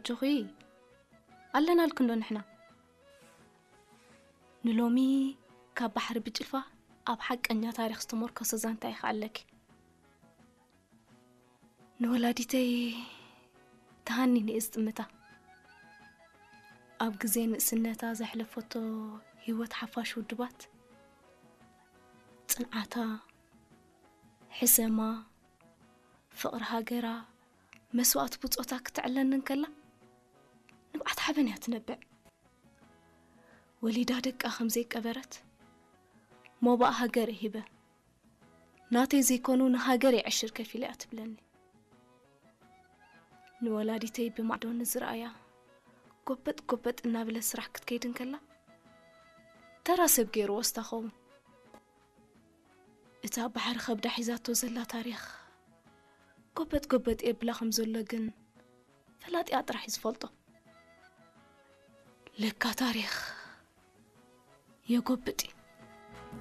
ጆኺ፣ ኣለናልኪ እንዶ ንሕና። ንሎሚ ካብ ባሕሪ ብጭልፋ ኣብ ሓቀኛ ታሪኽ ዝተመርኮሰ ዛንታ ኢኻ ኣለኪ። ንወላዲተይ ተሃኒኒ እየ ዝጥምታ። ኣብ ግዜ ንእስነታ ዘሕለፈቶ ህይወት ሓፋሽ ውድባት፣ ጽንዓታ፣ ሕሰማ፣ ፍቕሪ ሃገራ፣ መስዋእቲ ብጾታ ክተዕለኒ እንከላ፣ ንብዓት ሓበን እያ ትነብዕ። ወሊዳ ደቃ ከም ዘይቀበረት፣ ሞባእ ሃገር ሂበ፣ ናተይ ዘይኮኑ ንሃገር የዕሽር ከፊለ እያ ትብለኒ። ንወላዲተይ ብማዕዶ ንዝረኣያ፣ ጎበጥ ጎበጥ እናበለ ስራሕ ክትከይድ እንከላ፣ ተራ ሰብ ገይርዎ ስታኸውን። እታ ባሕሪ ከብዳ ሒዛቶ ዘላ ታሪኽ፣ ጎበጥ ጎበጥ የብላ ከም ዘሎ ግን፣ ፈላጢኣ ጥራሕ እዩ ዝፈልጦ። ለካ ታሪኽ የጎብጥ እዩ።